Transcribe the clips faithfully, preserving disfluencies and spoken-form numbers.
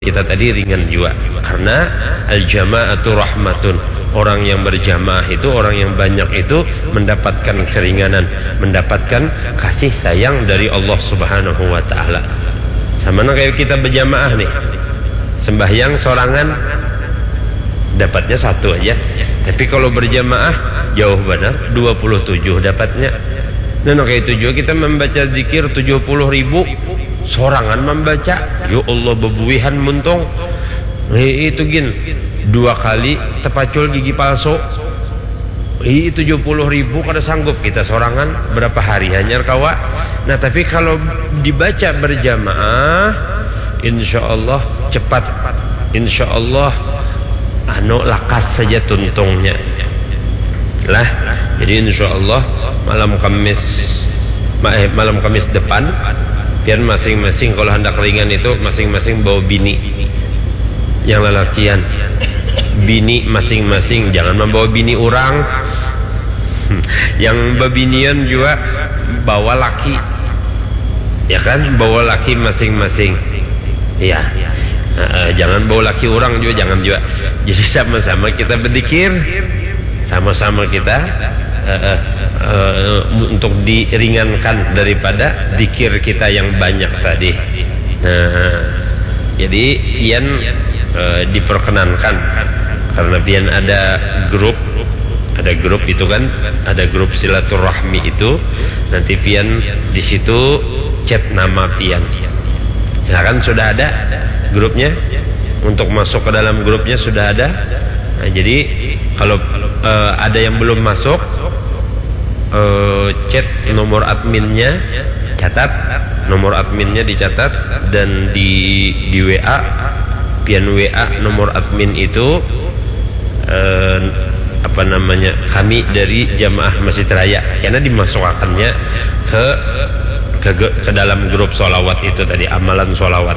kita tadi ringan jua. Karena al-jama'atu rahmatun. Orang yang berjamaah itu, orang yang banyak itu mendapatkan keringanan, mendapatkan kasih sayang dari Allah Subhanahu wa taala. Sama nang kayak kita berjamaah nih. Sembahyang sorangan dapatnya satu aja. Tapi kalau berjamaah jauh benar, dua puluh tujuh dapatnya. Nah, nang kayak itu juga kita membaca zikir tujuh puluh ribu sorangan membaca. Ya Allah, bebuihan muntung. Eh, itu gin dua kali tepacul gigi palsu. Ih, tujuh puluh ribu kada sanggup kita sorangan, berapa hari hanyar kawa. Nah, tapi kalau dibaca berjamaah, insya Allah cepat, insya Allah anu lakas saja tuntungnya lah. Jadi insya Allah malam Kamis, ma- eh, malam Kamis depan, pian masing-masing kalau hendak ringan itu masing-masing bawa bini yang lalakian, bini masing-masing, jangan membawa bini orang. Yang bebinian juga bawa laki, ya kan, bawa laki masing-masing, ya. Heeh, jangan bawa laki orang juga, jangan juga. Jadi sama-sama kita berzikir, sama-sama kita heeh, eh, untuk diringankan daripada zikir kita yang banyak tadi. Nah, jadi pian eh, diperkenankan karena pian ada grup, ada grup itu kan, ada grup silaturahmi itu, nanti pian di situ chat nama pian. Nah, kan sudah ada grupnya, untuk masuk ke dalam grupnya sudah ada. Nah, jadi kalau eh, ada yang belum masuk, eh, chat nomor adminnya, catat nomor adminnya, dicatat dan di di W A, pian W A nomor admin itu, eh, apa namanya, kami dari jamaah Masjid Raya, karena dimasukakannya ke ke, ke dalam grup solawat itu tadi, amalan solawat.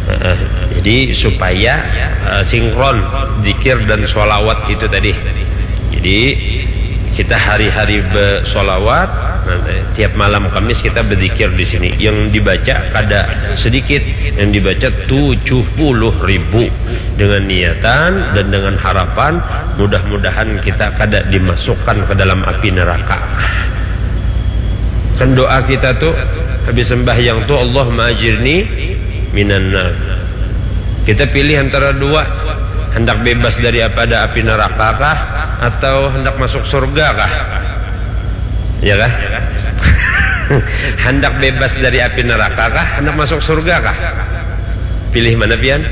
Heeh. Jadi supaya eh, sinkron zikir dan solawat itu tadi. Jadi kita hari-hari bersolawat, nanti tiap malam Kamis kita berzikir di sini. Yang dibaca kada sedikit, yang dibaca tujuh puluh ribu dengan niatan dan dengan harapan mudah-mudahan kita kada dimasukkan ke dalam api neraka. Kan doa kita tuh habis sembahyang tuh, "Allahumma ajirni minan nar." Kita pilih antara dua, hendak bebas daripada api neraka kah atau hendak masuk surga kah? Ya kah? Hendak bebas dari api neraka kah? Hendak masuk surga kah? Pilih mana pian?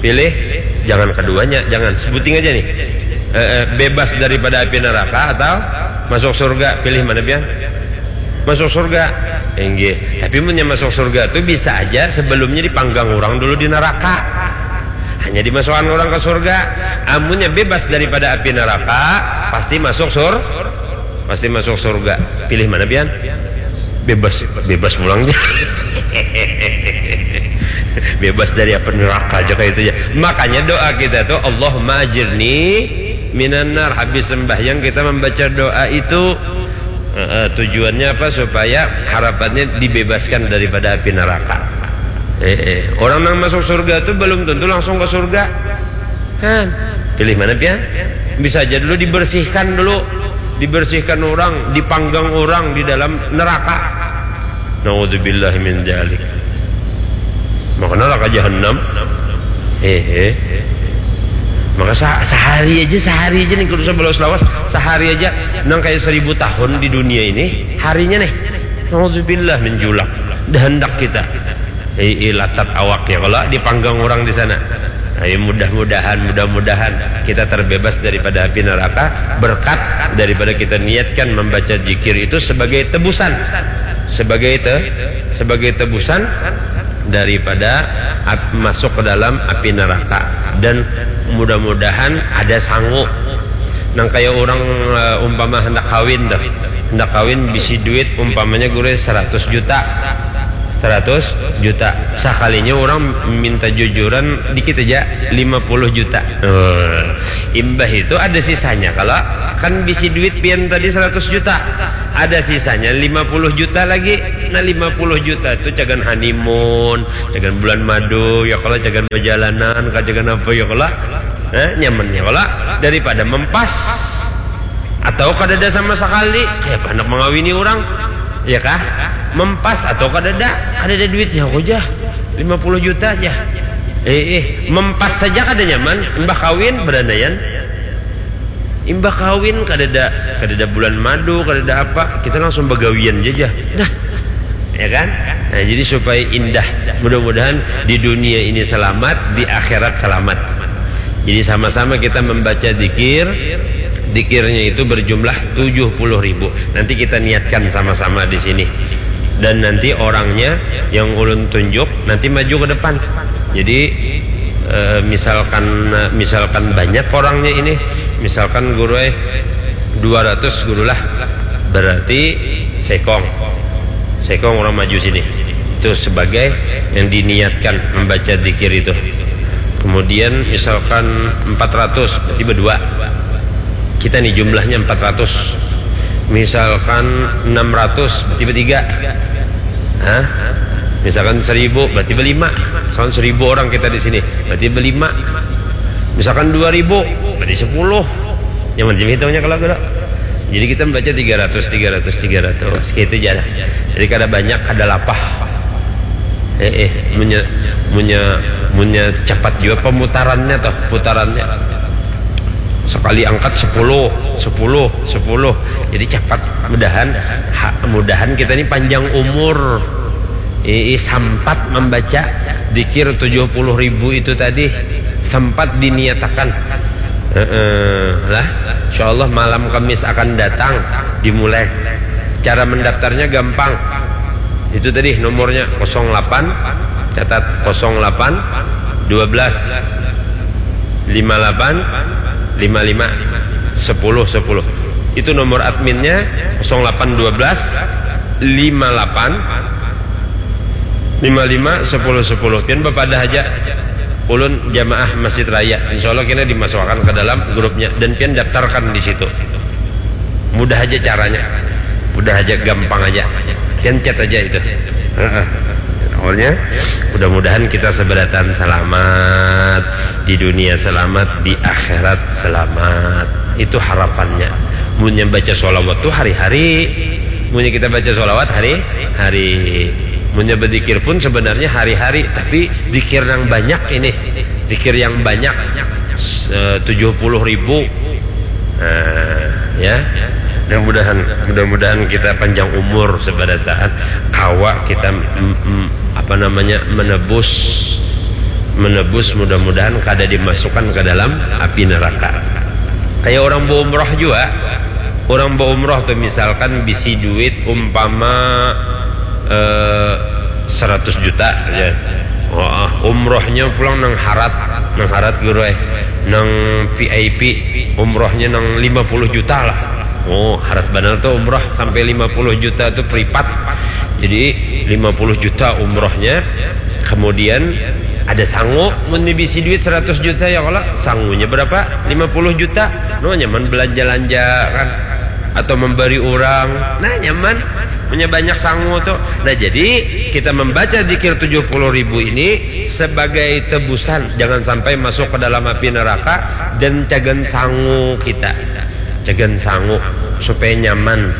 Pilih, jangan keduanya, jangan, sebuting aja nih. Eh, eh, bebas daripada api neraka atau masuk surga? Pilih mana pian? Masuk surga. Inggih. Tapi munnya masuk surga tuh bisa aja sebelumnya dipanggang orang dulu di neraka. Hanya dimasukkan orang ke surga. Amunnya bebas daripada api neraka, pasti masuk sur, pasti masuk surga. Pilih mana pian? Bebas, bebas pulang. Bebas dari api neraka aja kayak itu ya. Makanya doa kita tuh, "Allahumma ajirni minan nar." Habis sembahyang kita membaca doa itu. Eh, eh, tujuannya apa? Supaya harapannya dibebaskan daripada api neraka. Eh, eh. Orang yang masuk surga tuh belum tentu langsung ke surga. Kan? Pilih mana pian? Bisa aja dulu dibersihkan dulu, dibersihkan orang, dipanggang orang di dalam neraka. Naudzubillah min dzalik. Maka neraka jahanam. Eh, eh. Maka sa- sehari aja, sehari aja nih, kudu sebelum selawas, sehari aja nang kayak seribu tahun di dunia ini, harinya nih. Naudzubillah min julak. Dah hendak kita. Eh, eh, latat awak ya kalau dipanggang orang di sana. Ayo mudah-mudahan, mudah-mudahan kita terbebas daripada api neraka berkat daripada kita niatkan membaca zikir itu sebagai tebusan, sebagai te, sebagai tebusan daripada ap, masuk ke dalam api neraka. Dan mudah-mudahan ada sangu nang kayak orang eh, umpama hendak kawin tuh, hendak kawin bisi duit umpamanya guru seratus juta, seratus juta. Sekalinya orang minta jujuran dikit aja, lima puluh juta. Eh, imbah itu ada sisanya kalau Kan bisi duit pian tadi seratus juta. Ada sisanya lima puluh juta lagi. Nah, lima puluh juta tu cagan honeymoon, cagan bulan madu, ya kalo, cagan bajalanan, ka cagan apa, ya kalo. Nah, nyaman, ya kalo, daripada mempas. Atau kadada sama sakali, kayapa handak mangawini urang, ya kah? Mempas atau kadada, kadada duitnya, aku jah lima puluh juta jah. Eh, eh, mempas saja kada nyaman, imbah kawin berandaian. Imbah kawin kadada, kadada bulan madu, kadada apa, kita langsung bagawian jaja. Nah, ya kan? Nah, jadi supaya indah. Mudah-mudahan di dunia ini selamat, di akhirat selamat. Jadi sama-sama kita membaca dikir. Dikirnya itu berjumlah tujuh puluh ribu. Nanti kita niatkan sama-sama di sini. Dan nanti orangnya yang ulun tunjuk nanti maju ke depan. Jadi, eh, misalkan, misalkan banyak orangnya ini, misalkan guru, eh, dua ratus guru lah, berarti sekong. Sekong orang maju sini. Itu sebagai yang diniatkan membaca dikir itu. Kemudian misalkan empat ratus, berarti berdua. Kita nih jumlahnya empat ratus. Misalkan enam ratus, berarti bertiga. Hah? Misalkan seribu, berarti berlima. Misalkan seribu orang kita di sini, berarti berlima. Misalkan dua ribu, berarti sepuluh. Yang macam hitungnya kalau guru. Jadi kita membaca tiga ratus, tiga ratus, tiga ratus. Gitu aja lah. Jadi kada banyak, kada lapah. Eh, eh, munya, munya, munya cepat juga pemutarannya toh, putarannya. Sekali angkat sepuluh, sepuluh, sepuluh. Jadi cepat. Mudahan, ha, mudahan kita ini panjang umur. Ii, sampat membaca dikir tujuh puluh ribu itu tadi, sempat diniatakan. Heeh, lah, insya Allah malam Kamis akan datang, dimulai. Cara mendaftarnya gampang. Itu tadi nomornya kosong delapan, catat, kosong delapan, dua belas, lima delapan, lima lima, sepuluh, sepuluh. Itu nomor adminnya, kosong delapan dua belas, lima delapan, lima lima, sepuluh, sepuluh. Pian bapadah aja. Ulun jamaah Masjid Raya. Insya Allah kena dimasukkan ke dalam grupnya dan pian daftarkan di situ. Mudah aja caranya. Mudah aja, gampang aja. Pian chat aja itu. Heeh. Awalnya, mudah-mudahan kita seberatan selamat, di dunia selamat, di akhirat selamat. Itu harapannya. Munnya baca sholawat tuh hari-hari. Munnya kita baca sholawat hari-hari. Munnya berzikir pun sebenarnya hari-hari, tapi zikir yang banyak ini, zikir yang banyak, eh, tujuh puluh ribu. Nah, ya. Mudah-mudahan, mudah-mudahan kita panjang umur seberataan, kawa kita, mm, mm, apa namanya, menebus, menebus, mudah-mudahan kada dimasukkan ke dalam api neraka. Kayak orang berumrah juga. Orang berumrah tuh misalkan bisi duit umpama, eh, seratus juta aja. Wah, umrohnya pulang nang harat, nang harat guru, eh. Nang V I P, umrohnya nang lima puluh juta lah. Oh, harat banar tuh umroh sampai lima puluh juta tuh privat. Jadi lima puluh juta umrohnya, kemudian ada sangu, mun bisi duit seratus juta ya kalau sangunya berapa? Lima puluh juta. No, nyaman belanja-lanja kan, atau memberi orang. Nah, nyaman. Punya banyak sangu tuh. Nah, jadi kita membaca zikir tujuh puluh ribu ini sebagai tebusan. Jangan sampai masuk ke dalam api neraka dan cagan sangu kita. Cagan sangu supaya nyaman.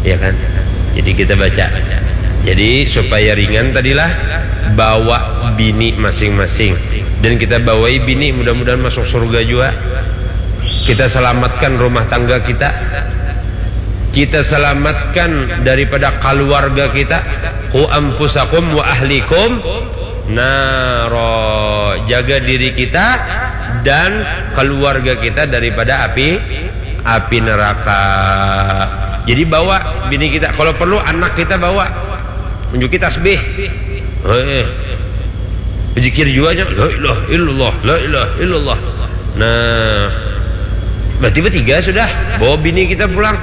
Ya kan? Jadi kita baca. Jadi supaya ringan tadilah, bawa bini masing-masing. Dan kita bawai bini, mudah-mudahan masuk surga juga. Kita selamatkan rumah tangga kita. Kita selamatkan daripada keluarga kita. Qu anfusakum wa ahlikum naro. Jaga diri kita dan keluarga kita daripada api, api neraka. Jadi bawa bini kita, kalau perlu anak kita bawa. Tunjuki tasbih. Heeh. Zikir juga nya, la ilaha illallah, la ilaha illallah. Nah, berarti bertiga sudah. Bawa bini kita pulang.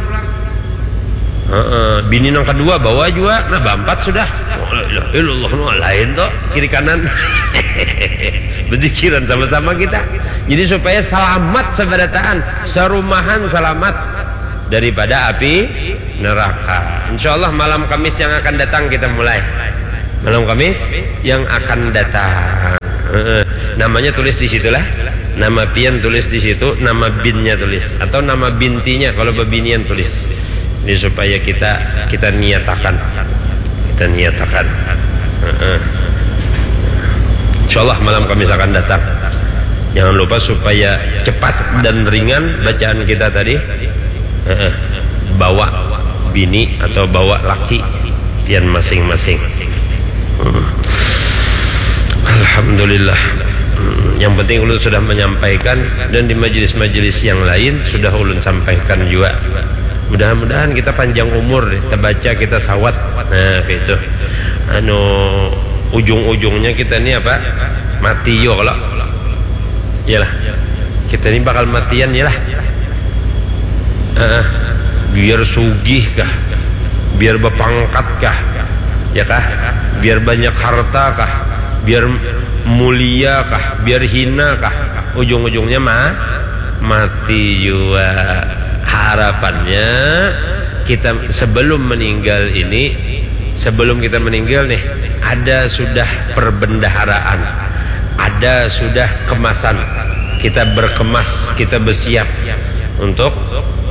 Heeh, bini nang kedua bawa juga. Nah, berempat sudah. Oh, la ilaha illallah, no, lain tuh, kiri kanan. Bezikiran sama-sama kita. Jadi supaya selamat sabarataan, sarumahan selamat daripada api neraka. Insya Allah malam Kamis yang akan datang kita mulai. Malam Kamis yang akan datang. Heeh. Namanya tulis di situlah. Nama pian tulis di situ, nama binnya tulis atau nama bintinya kalau bebinian tulis. Ini supaya kita kita niatakan. Kita niatakan. Heeh. Insya Allah malam Kamis akan datang. Jangan lupa supaya cepat dan ringan bacaan kita tadi. Heeh. Bawa bini atau bawa laki pian masing-masing. Hmm. Alhamdulillah. Hmm. Yang penting ulun sudah menyampaikan dan di majelis-majelis yang lain sudah ulun sampaikan juga. Mudah-mudahan kita panjang umur, terbaca kita sawat. Nah, itu. Anu, ujung-ujungnya kita ni apa? Mati yo kalau. Iyalah. Kita ni bakal matian iyalah. Heeh. Biar sugih kah? Biar bapangkat kah? Ya kah? Biar banyak harta kah? Biar mulia kah? Biar hina kah? Ujung-ujungnya ma mati jua. Harapannya kita sebelum meninggal ini, sebelum kita meninggal nih, ada sudah perbendaharaan, ada sudah kemasan. Kita berkemas, kita bersiap untuk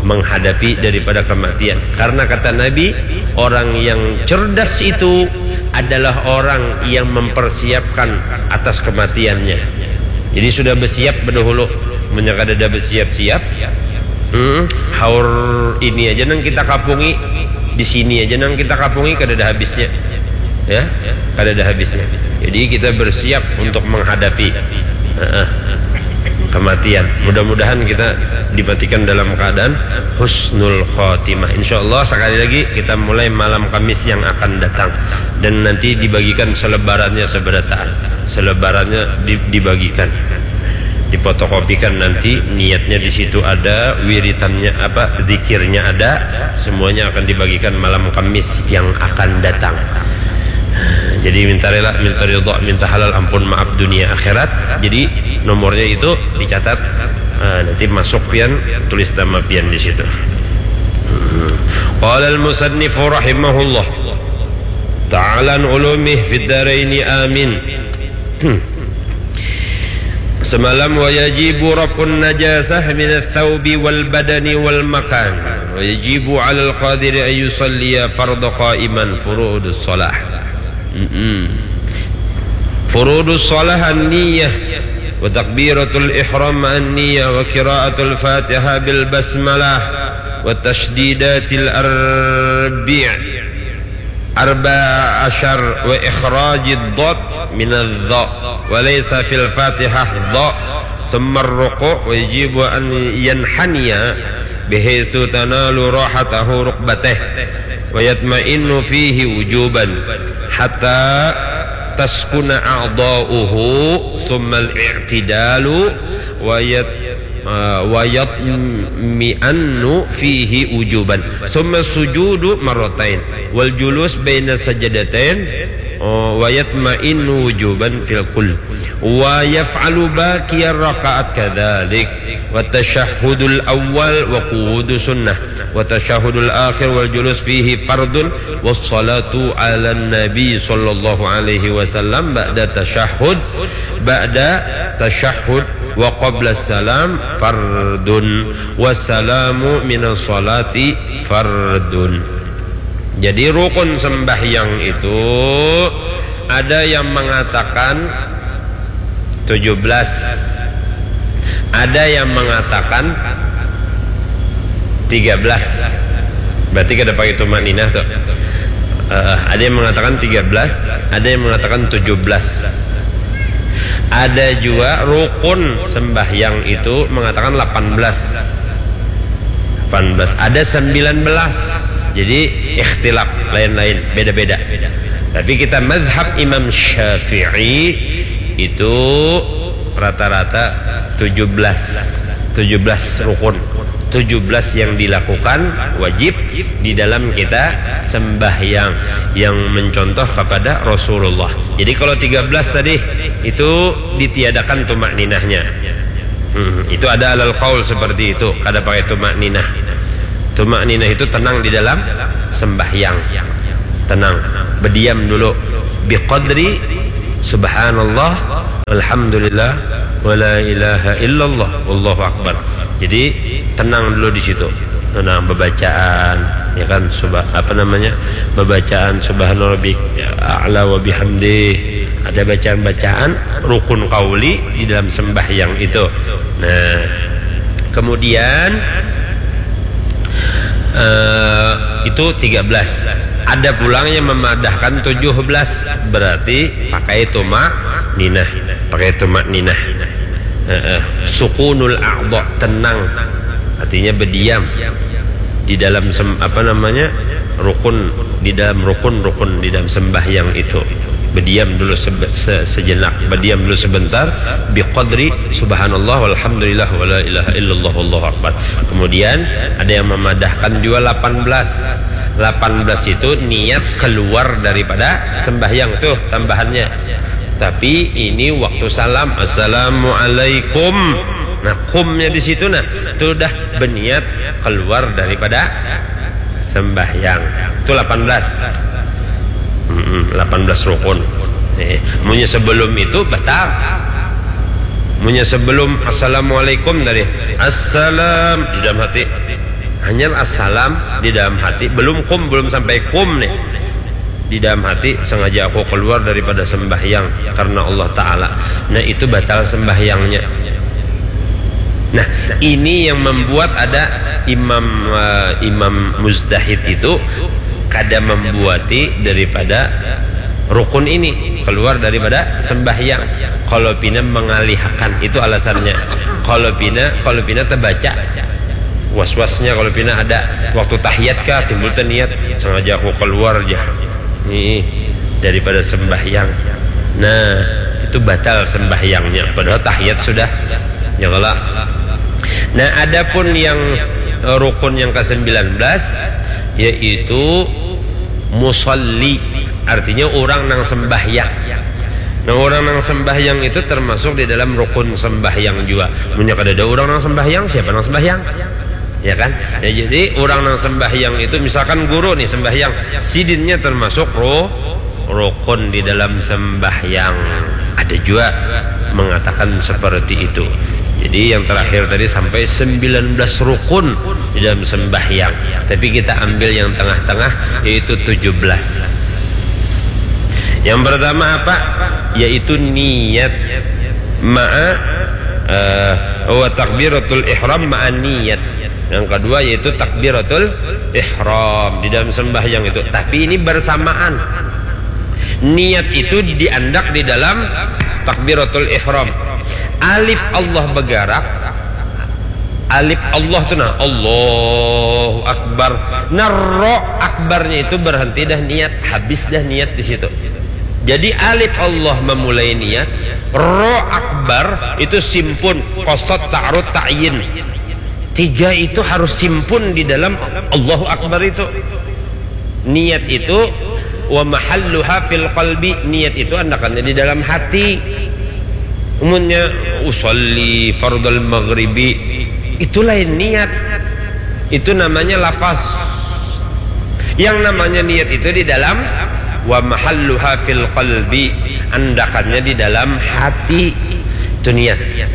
menghadapi daripada kematian. Karena kata Nabi, orang yang cerdas itu adalah orang yang mempersiapkan atas kematiannya. Jadi sudah bersiap berdahulu. Mun kada ada bersiap-siap, hmm, haur ini aja nang kita kapungi, di sini aja nang kita kapungi, kada ada habisnya. Ya, kada ada habisnya. Jadi kita bersiap untuk menghadapi, heeh, kematian. Mudah-mudahan kita dimatikan dalam keadaan husnul khotimah. Insya Allah sekali lagi kita mulai malam Kamis yang akan datang dan nanti dibagikan selebarannya seberataan. Selebarannya di- dibagikan, difotokopikan nanti, niatnya di situ ada, wiritannya apa, zikirnya ada, semuanya akan dibagikan malam Kamis yang akan datang. Jadi minta rela, minta ridha, minta halal ampun maaf dunia akhirat. Jadi nomornya itu dicatat, ah, nanti masuk pian, tulis nama pian di situ. Qala al-musannifu rahimahullah ta'ala an ulumih fid daraini amin. Semalam, wa yajibu raf'un najasah minats tsaubi wal badani wal makan. Wa yajibu 'alal qadiri an yusalliya fardhu qa'iman furudus shalah. Mm-mm. Furudus shalah an-niyah wa takbiratul ihram an-niyah wa qiraatul Fatihah bil basmalah wa tashdidatil arbi'. Arba asyar wa ikhrajid dhad minadh dha wa laysa fil Fatihah dha. Thumma ruku' wa yajibu an yanhaniya bihaitsu tanalu rahatahu rukbatah wa yatma'innu fihi wujuban hatta taskuna a'dha'uhu thumma al-i'tidalu wa yat- ah, wa yatmi'annu fihi wujuban. Thumma sujudu marratain wal julus baina sajadatain, oh, wa yatma'innu wujuban fil kull. Wa yaf'alu baqiyar rakaat kadzalik. Wa tasyahhudul awwal wa qu'udu sunnah. Wa tasyahhudul akhir wal julus fihi fardun. Was salatu 'alan nabi sallallahu alaihi wasallam ba'da tasyahhud, ba'da tasyahhud wa qabla salam fardun, wassalamu minas salati fardun. Jadi rukun sembahyang itu ada yang mengatakan tujuh belas, ada yang mengatakan tiga belas. Berarti kada pakai tumakninah tuh. Eh, ada yang mengatakan tiga belas, ada yang mengatakan tujuh belas. Ada juga rukun sembahyang itu mengatakan delapan belas. Delapan belas, ada sembilan belas. Jadi ikhtilaf, lain-lain, beda-beda. Tapi kita mazhab Imam Syafi'i itu rata-rata tujuh belas. Tujuh belas rukun, tujuh belas yang dilakukan wajib di dalam kita sembahyang yang mencontoh kepada Rasulullah. Jadi kalau tiga belas tadi, itu ditiadakan tumakninahnya. Hmm, itu ada alal qaul seperti itu, kada pakai tumakninah. Tumakninah itu tenang di dalam sembahyang. Tenang, berdiam dulu. Biqadri subhanallah, alhamdulillah, wala ilaha illallah, wallahu akbar. Jadi tenang dulu di situ. Tenang, bacaan, ya kan, suba-, apa namanya, bacaan subhana rabbik a'la wa bihamdih. Ada bacaan-bacaan rukun qauli di dalam sembahyang itu. Nah, kemudian, eh, itu tiga belas. Ada pulang yang memadahkan tujuh belas, berarti pakai tumakninah, pakai tumakninah. Heeh. Sukunul a'dha, tenang, artinya berdiam di dalam sem-, apa namanya, rukun, di dalam rukun-rukun di dalam sembahyang itu. Berdiam dulu sebe-, se-, sejenak, berdiam dulu sebentar, biqadri subhanallah walhamdulillah wala ilaha illallah wallahu akbar. Kemudian ada yang memadahkan juga delapan belas. Delapan belas itu niat keluar daripada sembahyang tuh tambahannya. Tapi ini waktu salam, assalamualaikum. Nah, kumnya di situ, nah, itu udah berniat keluar daripada sembahyang. Itu delapan belas. Mm-mm, delapan belas rukun. Eh, munnya sebelum itu batal. Munnya sebelum assalamualaikum tadi, assalam di dalam hati. Hanya assalam di dalam hati, belum kum, belum sampai kum nih. Di dalam hati, sengaja aku keluar daripada sembahyang karena Allah Ta'ala. Nah, itu batal sembahyangnya. Nah, ini yang membuat ada imam, eh, imam mujtahid itu kada membuati daripada rukun ini, keluar daripada sembahyang. Kalau pina mengalihakan, itu alasannya. Kalau pina, kalau pina terbaca was-wasnya, kalau pina ada waktu tahiyat kah, timbul teniat, sengaja aku keluar aja nih daripada sembahyang. Nah, itu batal sembahyangnya, padahal tahiyat sudah, ya kalau. Nah, adapun yang s-, rukun yang kesembilan belas, yaitu musalli, artinya orang nang sembahyang. Nah, orang nang sembahyang itu termasuk di dalam rukun sembahyang juga. Munnya kada ada orang nang sembahyang, siapa nang sembahyang? Ya kan? Ya, jadi orang nang sembahyang itu, misalkan guru nih sembahyang, sidinnya termasuk ru-, rukun di dalam sembahyang. Ada juga mengatakan seperti itu. Jadi yang terakhir tadi sampai sembilan belas rukun di dalam sembahyang. Tapi kita ambil yang tengah-tengah, yaitu tujuh belas. Yang pertama apa? Yaitu niat ma'a, eh, wa takbiratul ihram ma'a niat. Yang kedua yaitu takbiratul ihram di dalam sembahyang itu. Tapi ini bersamaan. Niat itu diandak di dalam takbiratul ihram. Alif Allah bergerak, alif Allah tu nah, Allahu Akbar. Nah, ro akbarnya itu berhenti dah niat, habis dah niat di situ. Jadi alif Allah memulai niat, ro akbar itu simpun, qasad, ta'arud, ta'yin. Tiga itu harus simpun di dalam Allahu Akbar itu. Niat itu, wa mahalluha fil qalbi, niat itu andakannya di dalam hati. Umumnya usolli fardal maghribi, itu lain niat. Itu namanya lafaz. Yang namanya niat itu di dalam, wa mahalluha fil qalbi, andakannya di dalam hati. Itu niat.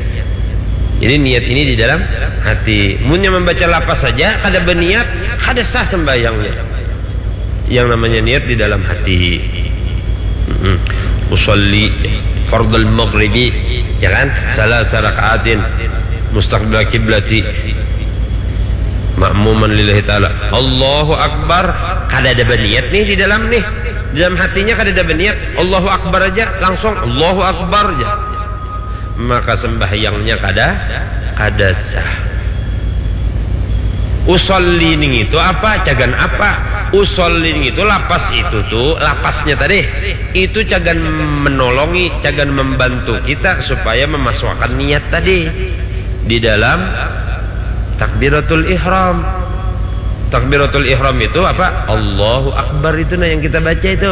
Jadi niat ini di dalam hati. Munnya membaca lafaz saja kada berniat, kada sah sembahyangnya. Yang namanya niat di dalam hati. Mm-mm. Usolli fardal maghribi, ya kan? Salasa rakaatin mustaqbil kiblati makmuman lillahi ta'ala. Allahu Akbar. Kada ada berniat nih di dalam nih. Di dalam hatinya kada ada berniat. Allahu Akbar aja langsung Allahu Akbar aja. Maka sembahyangnya kada, kada sah. Usolli ning itu apa? Cagan apa? Usolli ning itu lapas itu tuh, lapasnya tadi itu cagan menolongi, cagan membantu kita supaya memasukkan niat tadi di dalam takbiratul ihram. Takbiratul ihram itu apa? Allahu Akbar itu nah yang kita baca itu.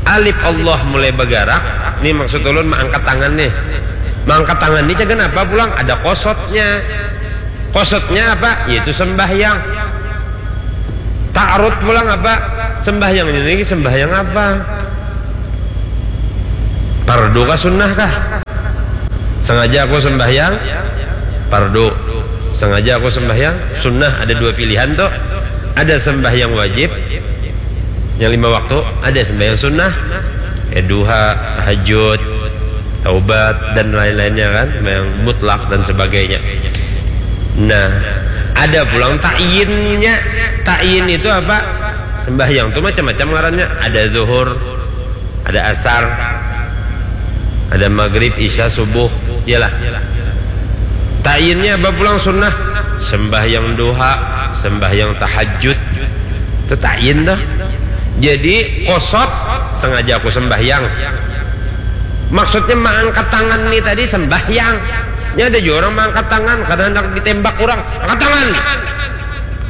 Alif Allah mulai bagarak, nih maksud ulun maangkat tangan nih. Maangkat tangan nih cagan apa pulang? Ada kosotnya. Kosotnya apa? Yaitu sembahyang. Ta'arud pulang apa? Sembahyang ini sembahyang apa? Pardu kah sunnah kah? Sengaja aku sembahyang pardu. Sengaja aku sembahyang sunnah. Ada dua pilihan tuh. Ada sembahyang wajib yang lima waktu, ada sembahyang sunnah. Ya, duha, tahajud, taubat, dan lain-lainnya kan, yang mutlak dan sebagainya. Nah, ada pulang ta'yinnya. Ta'yin itu apa? Sembahyang tuh macam-macam ngarannya. Ada zuhur, ada asar, ada maghrib, isya, subuh. Iyalah. Ta'yinnya apa pulang sunnah? Sembahyang duha, sembahyang tahajud. Itu ta'yin tuh. Jadi kosot, sengaja aku sembahyang. Maksudnya mengangkat tangan nih tadi sembahyang. Ini ada juga orang mengangkat tangan karena hendak ditembak orang. Angkat tangan.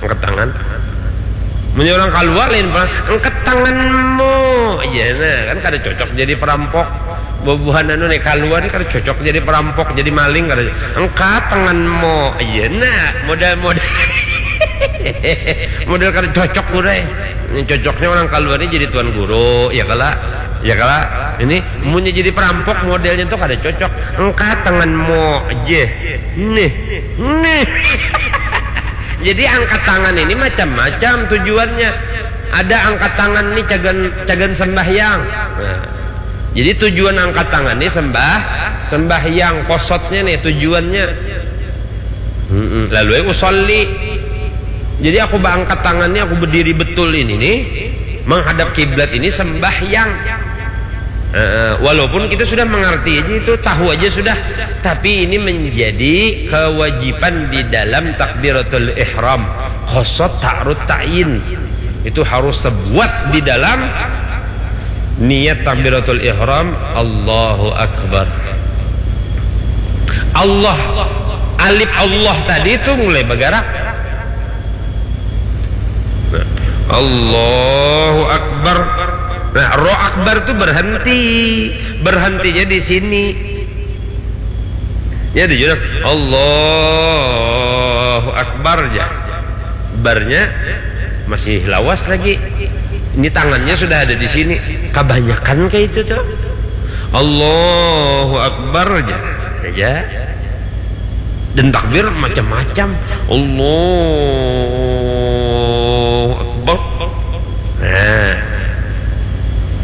Angkat tangan. Mun orang kaluar lain pulang, angkat tanganmu. Iya nah, kan kada cocok jadi perampok. Bubuhan anu nih kaluar nih kada cocok jadi perampok, jadi maling kada. Angkat tanganmu. Iya nah, modal-modal. Modal kada cocok udah. Ini cocoknya orang kaluar ini jadi tuan guru, ya kala? Ya kala? Ini munnya jadi perampok modelnya tuh kada cocok. Angkat tanganmu aja. Nih, nih. Jadi angkat tangan ini macam-macam tujuannya. Ada angkat tangan ini cagan cagan sembahyang. Nah, jadi tujuan angkat tangan ini sembah sembahyang, kosotnya nih tujuannya. Mm-mm. Lalu yang usolli. Jadi aku angkat tangan ini, aku berdiri betul ini nih, menghadap kiblat ini sembahyang. Eh, walaupun kita sudah mengerti aja itu, tahu aja sudah, tapi ini menjadi kewajiban di dalam takbiratul ihram. Kosot ta'arud ta'yin itu harus terbuat di dalam niat takbiratul ihram. Allahu Akbar. Allah, alif Allah tadi itu mulai bergerak. Nah, Allahu Akbar. Nah, roh akbar itu berhenti. Berhentinya di sini. Ya, dijurang Allahu Akbar aja. Barnya masih lawas lagi. Ini tangannya sudah ada di sini. Kebanyakan kayak itu tuh. Allahu Akbar aja. Aja. Dan takbir macam-macam. Allahu Akbar. Nah,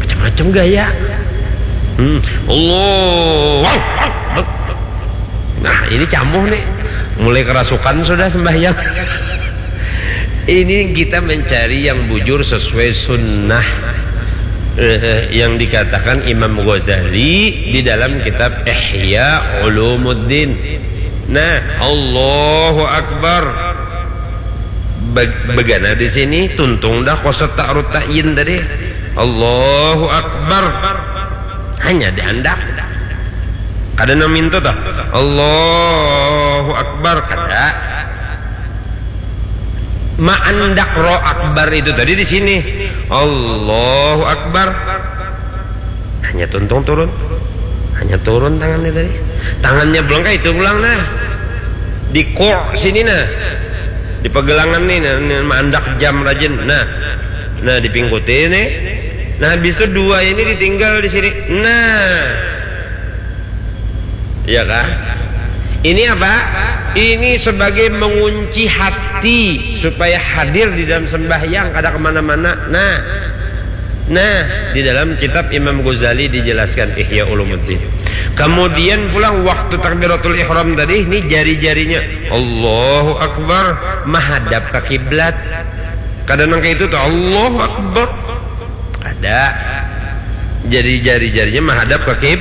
macam-macam gaya. Hmm. Allahu Akbar. Nah, ini camuh nih. Mulai kerasukan sudah sembahyang. Ini kita mencari yang bujur sesuai sunnah, eh, yang dikatakan Imam Ghazali di dalam kitab Ihya Ulumuddin. Nah, Allahu Akbar. Bag- begana di sini, tuntung dah kosot ta'arud ta'yin tadi. Allahu Akbar. Hanya diandak. Kada nang mintu tah. Allahu Akbar. Kada. Maandak roh akbar itu tadi di sini. Allahu Akbar. Hanya tuntung turun. Hanya turun tangannya tadi. Tangannya pulang kah itu pulang nah. Di kok sini nah. Di pegelangan nih nah, nih, maandak jam rajin. Nah. Nah, dipingkuti nih. Nah, habis itu dua ini ditinggal di sini. Nah. Iya kah? Ini apa? Ini sebagai mengunci hati supaya hadir di dalam sembahyang, kada kemana-mana. Nah, nah, di dalam kitab Imam Ghazali dijelaskan Ihya Ulumuddin. Kemudian pulang waktu takbiratul ihram tadi, ini jari-jarinya Allahu Akbar menghadap ke kiblat. Kada nang kayak itu tuh Allahu Akbar. Kada. Jadi jari-jarinya menghadap ke kib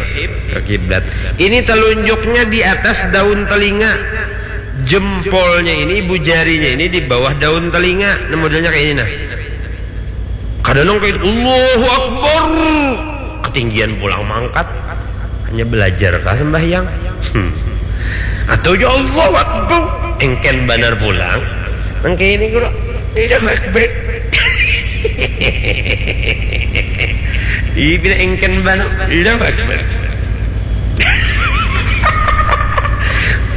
ke kiblat. Ini telunjuknya di atas daun telinga. Jempolnya ini, ibu jarinya ini di bawah daun telinga. Nah, modelnya kayak ini nah. Kada nang kayak Allahu Akbar. Ketinggian pulang mangkat. Hanya belajar kah sembahyang? Hmm. Atau ya Allahu Akbar. Engken banar pulang. Nang kayak ini guru. Tidak baik-baik. Ih, bila engken banu, Allahu Akbar.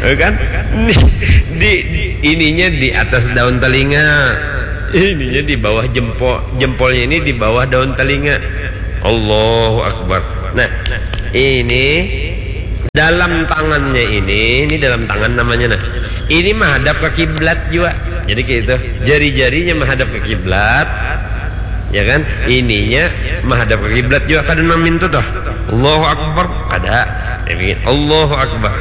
Kan? Di, di, ininya di atas daun telinga. Ininya di bawah jempol, jempolnya ini di bawah daun telinga. Allahu Akbar. Nah, ini dalam tangannya ini, ini dalam tangan namanya, nah. Ini menghadap ke kiblat juga. Jadi kayak itu. Jari-jarinya menghadap ke kiblat. Ya kan? Ininya menghadap ke kiblat juga, kada nang mintu toh. Allahu Akbar, kada. Ya, begini. Allahu Akbar.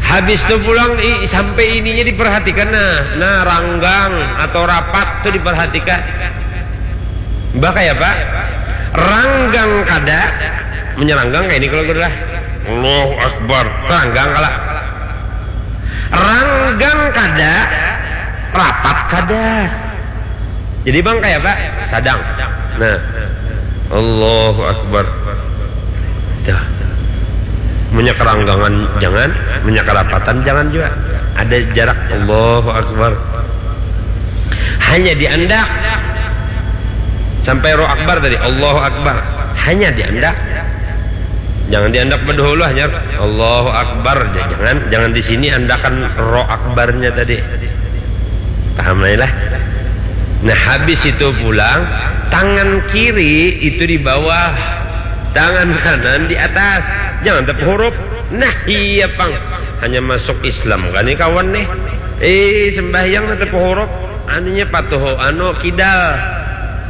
Habis tu pulang, i-, sampai ininya diperhatikan, nah. Nah, ranggang atau rapat tu diperhatikan. Bah, kaya apa? Ranggang kada, menyeranggang kayak ini kalau lah. Allahu Akbar. Ranggang kala. Ranggang kada, rapat kada. Jadi bang kaya apa? Sadang. Nah. Allahu Akbar. Tuh. Munnya keranggangan jangan, munnya kerapatan jangan juga. Ada jarak. Allahu Akbar. Hanya diandak. Sampai roh akbar tadi. Allahu Akbar. Hanya diandak. Jangan diandak berdahulu, hanya Allahu Akbar. J-, jangan, jangan di sini andakan roh akbarnya tadi. Paham lah, lah? Nah, habis itu pulang, tangan kiri itu di bawah, tangan kanan di atas. Jangan tepuhurup. Nah, iya pang. Hanya masuk Islam kan nih kawan nih. Eh, sembahyang nah tepuhurup. Anunya patuh, anu, kidal.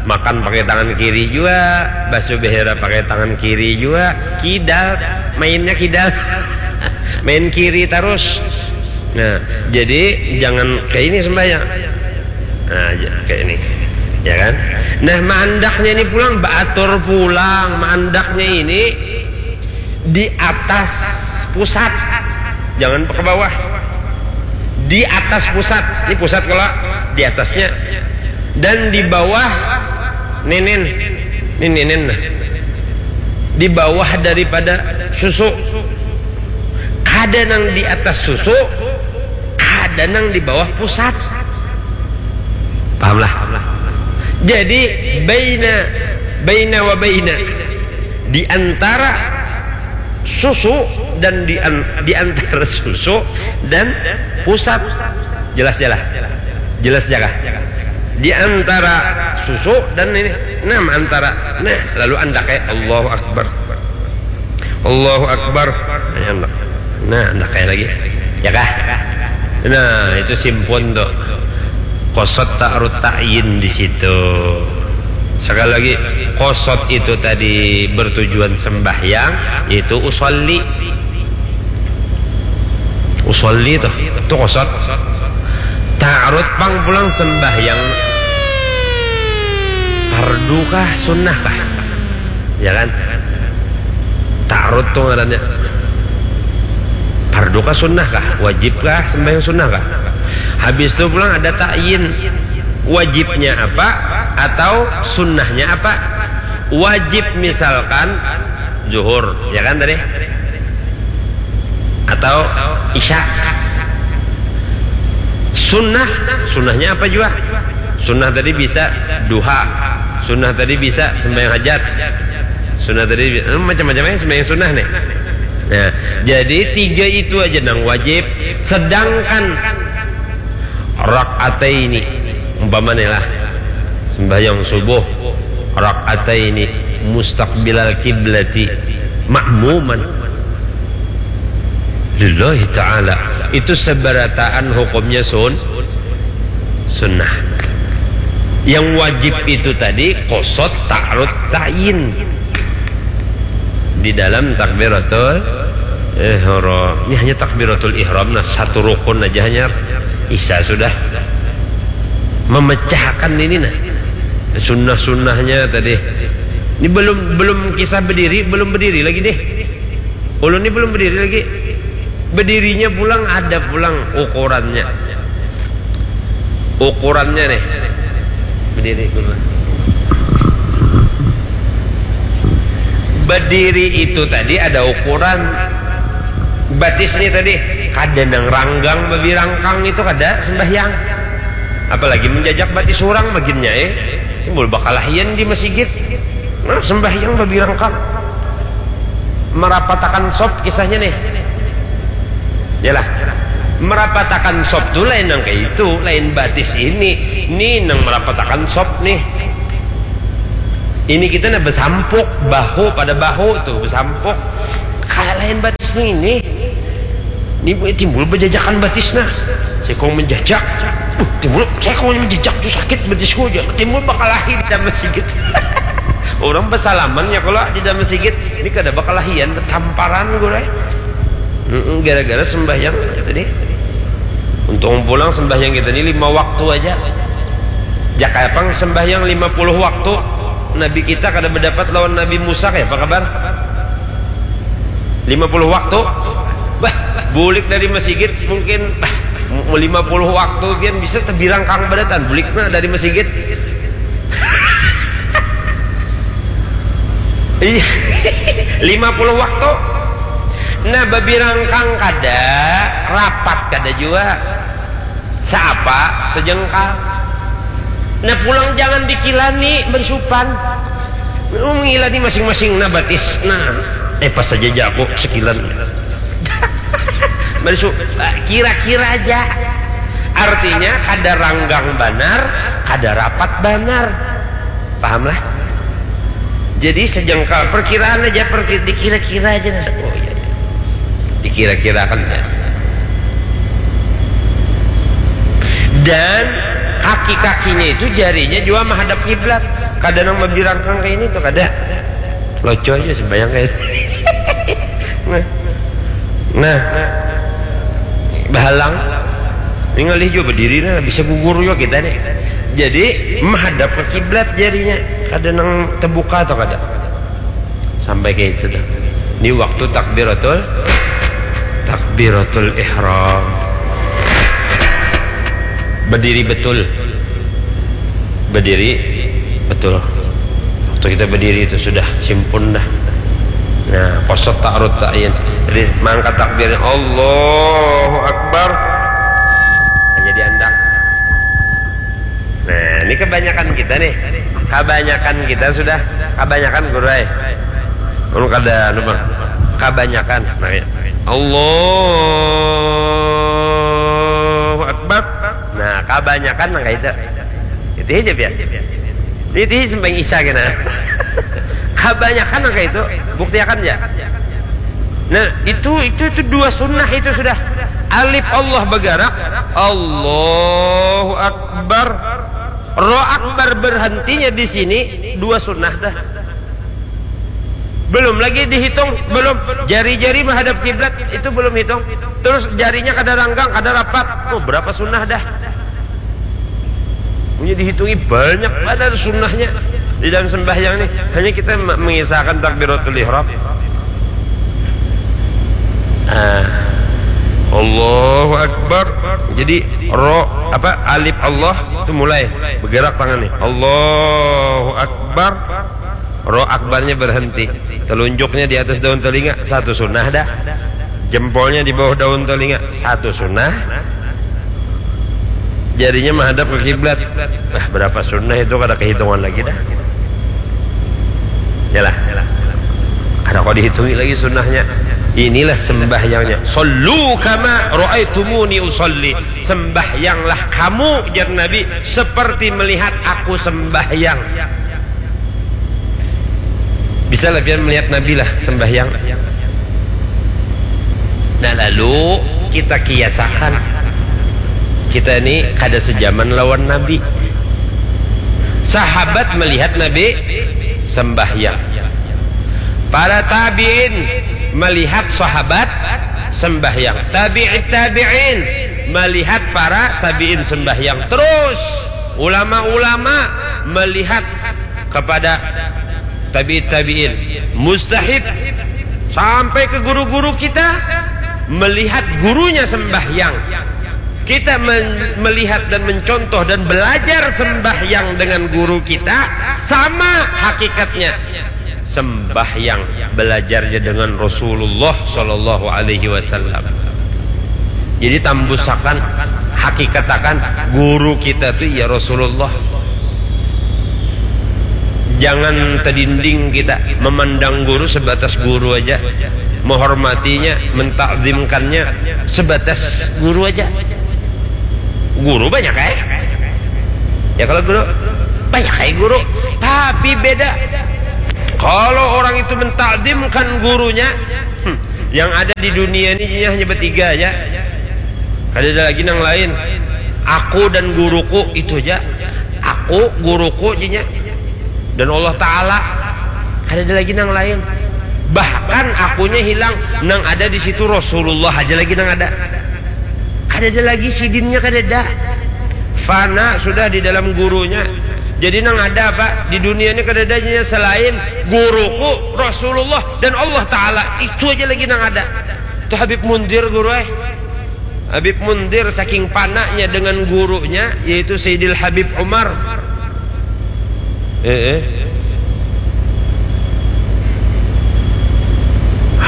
Makan pakai tangan kiri juga, basuh behera pakai tangan kiri juga, kidal, mainnya kidal. Main kiri terus. Nah, jadi jangan kayak ini sembahyang. Nah, j-, kayak ini. Ya kan? Nah, maandaknya ini pulang, baatur pulang, maandaknya ini di atas pusat. Jangan ke bawah. Di atas pusat. Ini pusat kalau di atasnya. Dan di bawah nenen. Ini nenen, nah. Di bawah daripada susu. Kada nang di atas susu, kada nang di bawah pusat. Pahamlah? Jadi, baina, baina wa baina. Di antara susu dan di an-, di antara susu dan pusat. Jelas, jelas. Jelas, jaga. Di antara susu dan ini. Nah, antara. Nah, lalu andaknya Allahu Akbar. Allahu Akbar. Nah, andak. Nah, andak kayak lagi. Ya kah? Nah, itu simpun tuh. Qasad ta'arud ta'yin di situ. Sekali lagi, qasad itu tadi bertujuan sembahyang, yaitu usolli. Usolli tuh, itu qasad. Ta'arud pang pulang sembahyang, fardu kah, sunnah kah? Ya kan? Ta'arud tuh ngarannya. Fardu kah, sunnah kah? Wajib kah sembahyang sunnah kah? Habis itu pulang ada ta'yin. Wajibnya apa atau sunnahnya apa? Wajib misalkan zuhur, ya kan tadi? Atau isya. Sunnah, sunnahnya apa juga? Sunnah tadi bisa duha. Sunnah tadi bisa sembahyang hajat. Sunnah tadi bi-, eh, macam-macam aja sembahyang sunnah nih. Nah, jadi tiga itu aja nang wajib. Sedangkan rakaataini, umpama nih lah, sembahyang subuh, rakaataini mustaqbilal kiblati ma'muman lillahi ta'ala. Itu seberataan hukumnya sun-, sunnah. Yang wajib itu tadi qasad, ta'arud, ta'yin. Di dalam takbiratul ihram. Ini hanya takbiratul ihram, nah, satu rukun aja hanya isya sudah. Memecahkan ini, nah. Sunnah-sunnahnya tadi. Ini belum, belum kisah berdiri, belum berdiri lagi deh. Ulun ini belum berdiri lagi. Berdirinya pulang ada pulang ukurannya. Ukurannya nih. Berdiri dulu. Berdiri itu tadi ada ukuran. Batis nih tadi, kada nang ranggang babi rangkang itu kada sembahyang. Apalagi menjajak batis orang baginnya, eh. Timbul bakalahian di masigit. Nah, sembahyang babirangkang. Merapatakan sop kisahnya nih. Yalah. Merapatakan sop tu lain nang kayak itu, lain batis ini. Nih nang merapatakan sop nih. Ini kita nah besampuk, bahu pada bahu tuh besampuk. Kayak lain batis nih ini. Ini timbul bejajakan batis nah. Sekong menjajak. Uh, timbul sekong menjajak tuh sakit batisku aja. Timbul bakalahi di dalam masjid. Orang bersalaman ya kalau di dalam masjid. Ini kada bakalahian tamparan gue. Mm-mm, gara-gara sembahyang tadi. Untung pulang sembahyang kita ini lima waktu aja. Jakai pang sembahyang lima puluh waktu. Nabi kita kada berdapat lawan Nabi Musa kayak apa kabar? Lima puluh waktu. Bah, bulik dari masjid mungkin bah, mu- lima puluh waktu pian bisa tebirangkang badatan buliknya dari masjid. Iya. Lima puluh waktu. Nah, babirangkang kada, rapat kada jua. Seapa? Sejengkal. Nah, pulang jangan dikilani bersupan. Mengilani masing-masing nah batis. Nah, eh pas saja jago sekilan. Bersu kira-kira aja. Artinya kada ranggang banar, kada rapat banar. Paham lah? Jadi sejengkal perkiraan aja, perki- dikira-kira aja. Nah, oh iya, iya. Dikira-kirakan ya. Dan kaki-kakinya itu jarinya juga menghadap kiblat. Kada nang babirangkang kayak ini tuh kada. Loco aja sembayang kayak itu. Nah. Nah. Bahalang. Ini ngalih juga berdiri nah, bisa gugur juga kita nih. Jadi menghadap ke kiblat jarinya. Kada nang terbuka atau kada. Sampai kayak itu tuh. Di waktu takbiratul takbiratul ihram. Berdiri betul. Berdiri betul. Waktu kita berdiri itu sudah simpun dah. Nah, kosot ta'arud ta'yin. Jadi mangkat takbirnya Allahu Akbar. Nah, jadi andang. Nah, ini kebanyakan kita nih. Kebanyakan kita sudah kebanyakan gurai. Mun kada anu bang. Kebanyakan. Nah, ya. Allahu Akbar. Nah, kebanyakan nang kayak itu. Itu aja biar. Ini sembahyang isya kena. Kebanyakan nang kayak itu. Buktiakan ya. Nah, itu itu itu dua sunnah itu sudah. Alif Allah bergerak, Allahu Akbar. Ro Akbar berhentinya di sini, dua sunnah dah. Belum lagi dihitung, belum jari-jari menghadap kiblat itu belum hitung. Terus jarinya kada ranggang, kada rapat. Oh, berapa sunnah dah? Punya dihitungi banyak pada sunnahnya di dalam sembahyang nih. Hanya kita mengisahkan takbiratul ihram. Ah. Allahu Akbar. Jadi ro apa alif Allah itu mulai bergerak tangan nih. Allahu Akbar. Ro akbarnya berhenti. Telunjuknya di atas daun telinga, satu sunnah dah. Jempolnya di bawah daun telinga, satu sunnah. Jarinya menghadap ke kiblat. Nah, berapa sunnah itu kada kehitungan lagi dah. Yalah. Kada kau dihitungi lagi sunnahnya. Inilah sembahyangnya. Sallu kama ra'aitumuni usalli. Sembahyanglah kamu, jar Nabi, seperti melihat aku sembahyang. Bisa lah pian melihat Nabi lah sembahyang. Nah, lalu kita kiasakan. Kita ini kada sejaman lawan Nabi. Sahabat melihat Nabi sembahyang. Para tabi'in melihat sahabat sembahyang. Tabi'it tabi'in melihat para tabi'in sembahyang. Terus ulama-ulama melihat kepada tabi'it tabi'in, mustahid sampai ke guru-guru kita melihat gurunya sembahyang. Kita men- melihat dan mencontoh dan belajar sembahyang dengan guru kita sama hakikatnya sembahyang belajarnya dengan Rasulullah Shallallahu Alaihi Wasallam. Jadi tambusakan, hakikatakan guru kita tu ya Rasulullah. Jangan tadinding kita memandang guru sebatas guru aja, menghormatinya, mentakzimkannya sebatas guru aja. Guru banyak, eh? Ya, kalau guru banyak, eh, guru. Tapi beda. Kalau orang itu mentakzimkan gurunya, hmm, yang ada di dunia ini hanya bertiga aja. Kada ada lagi nang lain. Aku dan guruku, itu aja. Aku, guruku, jinya, dan Allah Ta'ala. Kada ada lagi nang lain. Bahkan akunya hilang, nang ada di situ Rasulullah aja lagi nang ada. Kada ada lagi sidinnya, kada ada. Fana sudah di dalam gurunya. Jadi nang ada apa di dunia ini, kada ada jinya selain guruku, Rasulullah, dan Allah Ta'ala. Itu aja lagi nang ada. Itu Habib Munzir, guru, eh. Habib Munzir saking pananya dengan gurunya, yaitu Sayyidil Habib Umar. Eh, eh.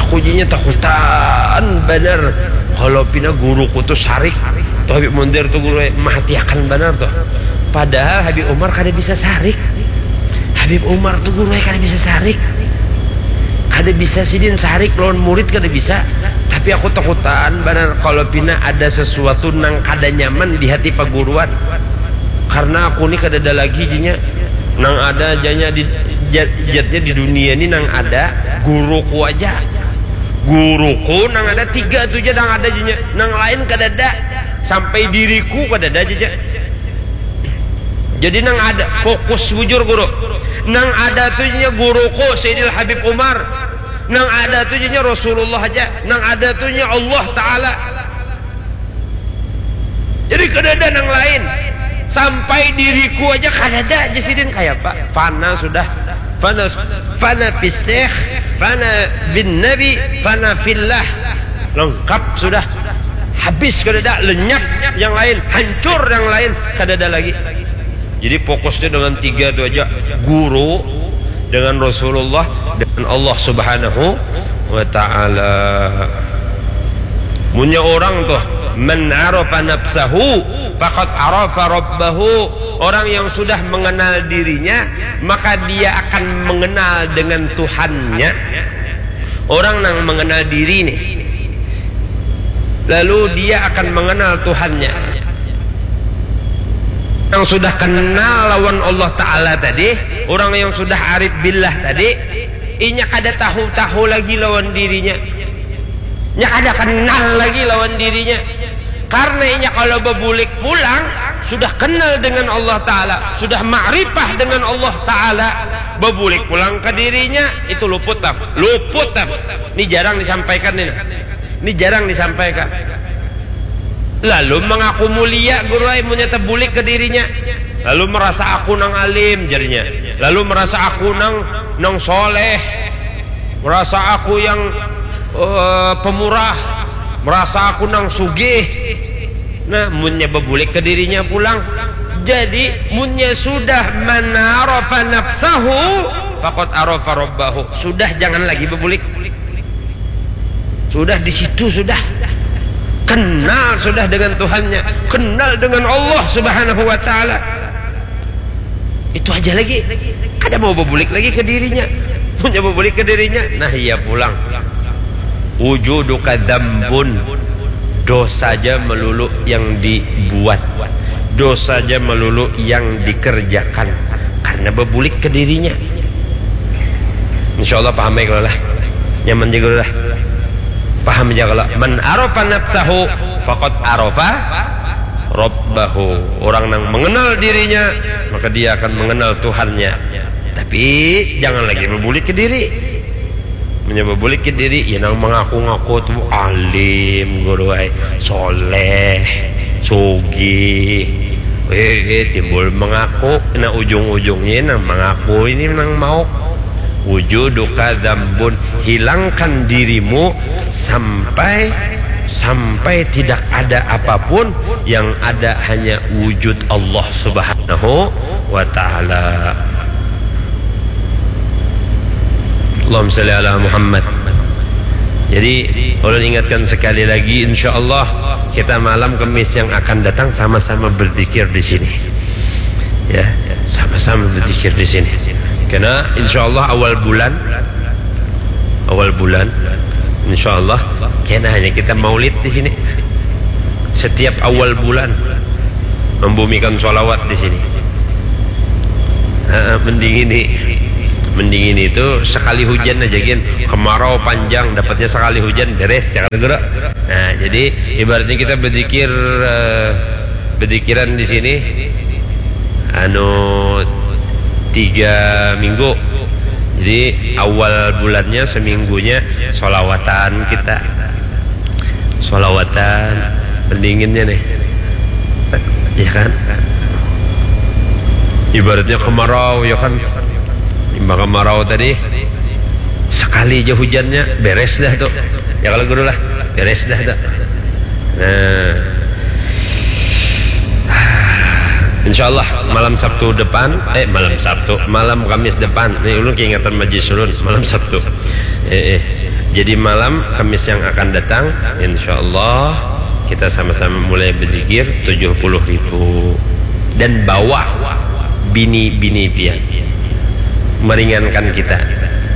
Aku jinya takutan banar kalau pina guruku tu sarik. Tu Habib Munzir tu guru, eh, mahatiakan banar tu. Padahal Habib Umar kada bisa sarik. Habib Umar tu guru, eh, kada bisa sarik. Kada bisa sidin sarik lawan murid, kada bisa. Tapi aku takutan banar kalau pina ada sesuatu nang kada nyaman di hati paguruan. Karena aku ni kadada lagi, jinya. Nang ada janya di, jat-, jatnya di dunia ni nang ada guruku aja. Guruku nang ada tiga tu ja nang ada, jinya. Nang lain kadada. Sampai diriku kadada, jinya. Jadi nang ada, fokus bujur, guru. Nang ada tu, jinya, guruku Sayyidil Habib Umar. Nang ada tu, jinya, Rasulullah aja. Nang ada tu, jinya, Allah Ta'ala. Jadi kadada nang lain. Sampai diriku aja kadada aja sidin, kaya apa? Fana sudah. Fana, fana fis syekh, fana bin nabi, fana fillah. Lengkap sudah. Habis kadada, lenyap yang lain, hancur yang lain, kadada lagi. Jadi fokusnya dengan tiga tu aja, guru, dengan Rasulullah, dengan Allah Subhanahu wa Ta'ala. Munnya orang tuh, "Man arafa nafsahu, faqad arafa rabbahu." Orang yang sudah mengenal dirinya, maka dia akan mengenal dengan Tuhannya. Orang nang mengenal diri nih, lalu dia akan mengenal Tuhannya. Yang sudah kenal lawan Allah Ta'ala tadi, orang yang sudah arif billah tadi, inya kada tahu-tahu lagi lawan dirinya. Nya kada kenal lagi lawan dirinya. Karena inya kalau bebulik pulang, sudah kenal dengan Allah Ta'ala, sudah makrifah dengan Allah Ta'ala, bebulik pulang ke dirinya, itu luput, Bang. Luput, Bang. Ini jarang disampaikan ini. Ini jarang disampaikan. Lalu mengaku mulia, guru ai, munnya tebulik ke dirinya. Lalu merasa aku nang alim, jadinya. Lalu merasa aku nang, nang soleh. Merasa aku yang, eh, pemurah. Merasa aku nang sugih. Nah, munnya bebulik ke dirinya pulang. Jadi, munnya sudah man arafa nafsahu, faqad arafa rabbahu. Sudah, jangan lagi bebulik. Sudah di situ, sudah. Kenal sudah dengan Tuhannya. Kenal dengan Allah Subhanahu wa Ta'ala. Itu aja lagi. Kada mau bebulik lagi ke dirinya. Munnya bebulik ke dirinya, nah, iya pulang. Wujuduka dzambun. Dosa aja melulu yang dibuat. Dosa aja melulu yang dikerjakan. Karena bebulik ke dirinya. Insya Allah paham ya kalau lah. Nyaman juga lah. Paham aja kalau. Man arafa nafsahu, faqad arafa rabbahu. Orang yang mengenal dirinya, maka dia akan mengenal Tuhannya. Tapi jangan lagi bebulik ke diri. Munnya bebulik ke diri, ya nang mengaku-ngaku tu alim, guru ai, soleh, sugih. Eh, eh, timbul mengaku, nah, ujung-ujungnya nang mengaku ini nang mau. Wujuduka dzambun, hilangkan dirimu sampai, sampai tidak ada apapun, yang ada hanya wujud Allah Subhanahu wa Ta'ala. Allahumma salli ala Muhammad. Jadi, ulun ingatkan sekali lagi, insya Allah kita malam Kamis yang akan datang sama-sama berzikir di sini. Ya, sama-sama berzikir di sini. Kena, insya Allah awal bulan, awal bulan, insya Allah kena hanya kita maulid di sini. Setiap awal bulan membumikan sholawat di sini. Heeh, mending ini, mending ini itu sekali hujan aja gin, kemarau panjang dapatnya sekali hujan beres ya kan guru. Nah, jadi ibaratnya kita berzikir, eh, berzikiran di sini anu tiga minggu. Jadi awal bulannya seminggunya solawatan kita, solawatan pendinginnya nih, ya kan? Ibaratnya kemarau ya kan, imbah kemarau tadi sekali aja hujannya beres dah tuh, ya kalau guru lah, beres dah tuh. Nah, insya Allah malam Sabtu depan, eh malam Sabtu, malam Kamis depan, nih ulun keingatan majlis ulun malam Sabtu. Eh, eh. Jadi malam Kamis yang akan datang, insya Allah kita sama-sama mulai berzikir tujuh puluh ribu dan bawa bini-bini pian meringankan kita.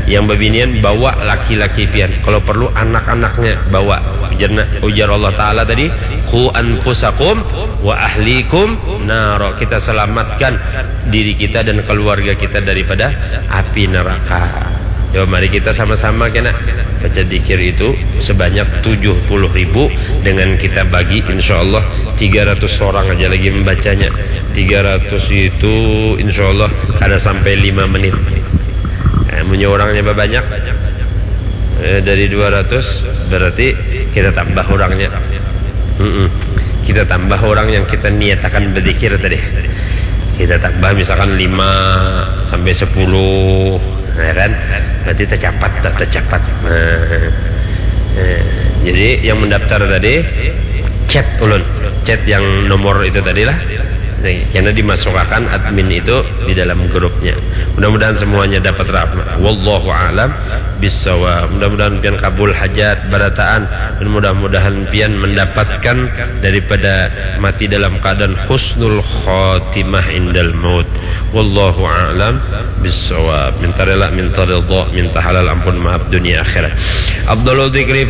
Yang bebinian bawa laki-laki pian. Kalau perlu anak-anaknya bawa. Ujar, ujar Allah Ta'ala tadi, "Ku anfusakum wa ahlikum naro." Kita selamatkan diri kita dan keluarga kita daripada api neraka. Yo, mari kita sama-sama kena baca zikir itu sebanyak tujuh puluh ribu dengan kita bagi insya Allah tiga ratus orang aja lagi membacanya. Tiga ratus itu insya Allah kada sampai lima menit. Eh, munnya orangnya banyak, eh, dari dua ratus berarti kita tambah orangnya. Mm-mm. Kita tambah orang yang kita niatakan berzikir tadi. Kita tambah misalkan lima sampai sepuluh, ya kan? Berarti tercapat, tak tercapat. Nah, eh, jadi yang mendaftar tadi chat ulun, chat yang nomor itu tadi lah. Karena dimasukkan admin itu di dalam grupnya. Mudah-mudahan semuanya dapat rahmat. Wallahu a'lam bissawab. Mudah-mudahan pian kabul hajat barataan dan mudah-mudahan pian mendapatkan daripada mati dalam keadaan husnul khatimah indal maut. Wallahu a'lam bissawab. Minta rela, minta ridha, minta halal ampun maaf dunia akhirat. Afdalu dzikri